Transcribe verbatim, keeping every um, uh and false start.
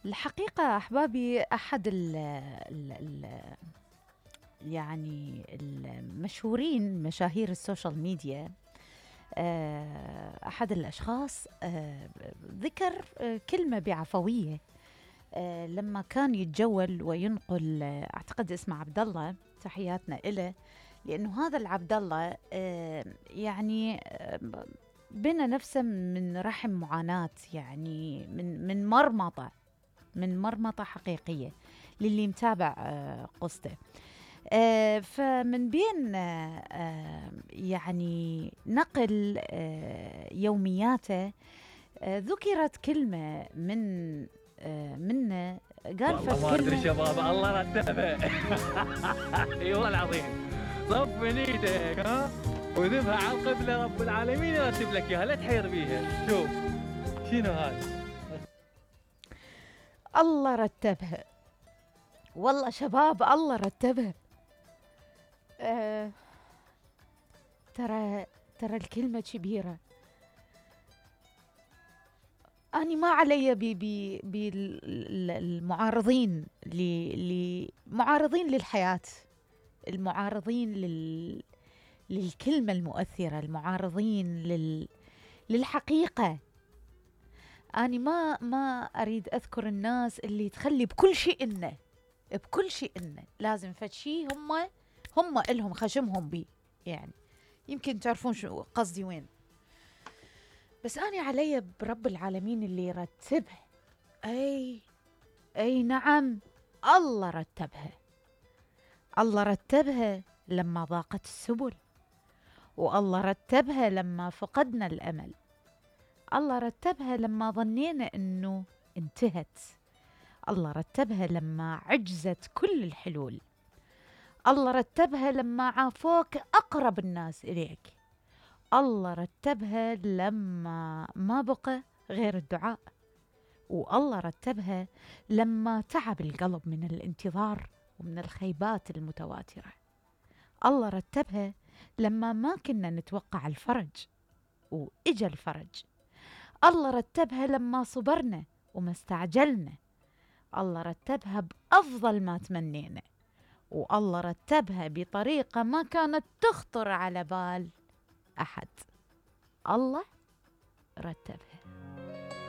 الحقيقة أحبابي أحد ال ال ال يعني المشهورين مشاهير السوشيال ميديا، آه، أحد الأشخاص آه، ذكر آه، كلمة بعفوية آه، لما كان يتجول وينقل، آه، أعتقد اسمه عبد الله، تحياتنا إله، لأنه هذا العبد الله آه، يعني آه، بنى نفسه من رحم معاناة، يعني من من مرمطة من مرمطة حقيقية للي متابع آه، قصته. آه، فمن بين آه، آه، يعني نقل آه، يومياته آه، ذكرت كلمة من آه، منه، قال فت والله ما ادري كلمة. شباب، الله رتبه. اي والله العظيم، صف من ايدك ها وذبها على القبله، رب العالمين يرتب لك اياها، لا تحير بيها. شوف شنو هذا؟ الله رتبها، والله شباب الله رتبها. آه ترى ترى الكلمة كبيرة. أنا ما علي بالمعارضين، معارضين للحياة، المعارضين لل للكلمة المؤثرة، المعارضين لل للحقيقة. أنا ما ما أريد أذكر الناس اللي تخلي بكل شيء إنه بكل شيء إنه لازم فد شيء هم هم إلهم خشمهم بيه، يعني يمكن تعرفون شو قصدي وين. بس أنا علي برب العالمين اللي يرتبها. أي أي نعم، الله رتبها. الله رتبها لما ضاقت السبل، والله رتبها لما فقدنا الأمل، الله رتبها لما ظنينا أنه انتهت، الله رتبها لما عجزت كل الحلول، الله رتبها لما عافوك أقرب الناس إليك، الله رتبها لما ما بقى غير الدعاء، والله رتبها لما تعب القلب من الانتظار ومن الخيبات المتواترة، الله رتبها لما ما كنا نتوقع الفرج وإجا الفرج، الله رتبها لما صبرنا وما استعجلنا، الله رتبها بأفضل ما تمنينا، والله رتبها بطريقة ما كانت تخطر على بال أحد. الله رتبها.